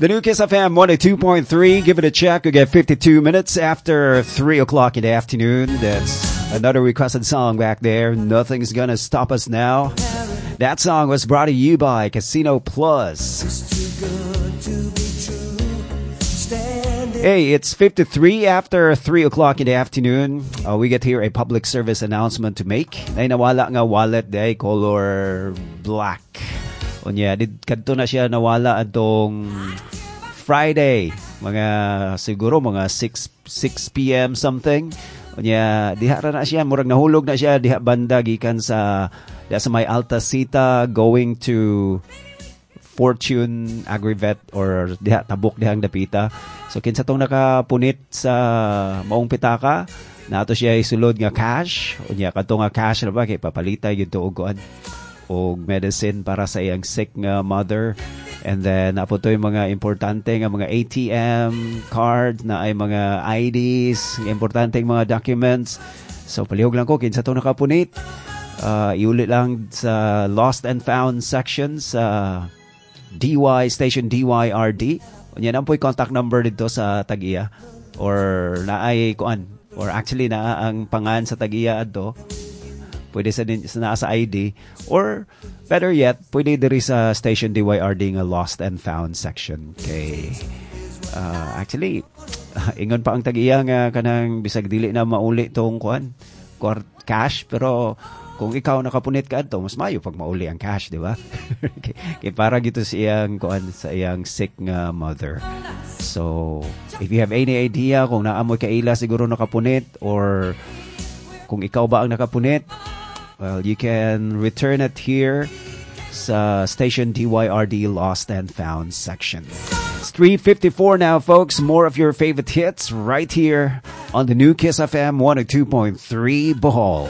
The new Kiss FM 102.3. Give it a check. We get 52 minutes after 3 o'clock in the afternoon. That's another requested song back there. "Nothing's Gonna Stop Us Now." That song was brought to you by Casino Plus. Hey, it's 53 after 3 o'clock in the afternoon. We get here a public service announcement to make. Nay nawala nga wallet diay, color black. Unya, did kadto na siya nawala atong Friday, mga siguro mga 6 p.m. something. Unya, diha ra na siya, murag nahulog na siya diha banda gikan sa diha sa may Alta Cita going to Fortune Agrivet or diha tabok dihang dapita. So kinsa tong nakapunit sa maong pitaka, nato siya isulod nga cash. Unya kadto nga cash na ba kay papalitay gyud to og kuan og medicine para sa iyang sick nga mother. And then naa pod to'y mga importante nga mga ATM cards na ay mga IDs, importante mga documents. So palihog lang ko kinsa to nakapunit. Iuli lang sa lost and found section sa DY Station DYRD. Unya naa po'y contact number dito sa tag-iya or naay kuan or actually naa ang pangan sa tag-iya adto. Pwede sa din sa naa sa ID or better yet, pwede diri sa Station DYRD nga lost and found section kay actually ingon pa ang tag-iya nga kanang bisag dili na mauli tong kuan cash, pero kung ikaw nakapunit ka adto, mas maayo pag mauli ang cash, di ba? Kay para gito sa iyang kuan, sa iyang sick nga mother. So if you have any idea kung naa moy kaila siguro nakapunit or kung ikaw ba ang nakapunit, well, you can return it here sa Station DYRD Lost and Found section. It's 3:54 now, folks. More of your favorite hits right here on the new Kiss FM 102.3 Bohol.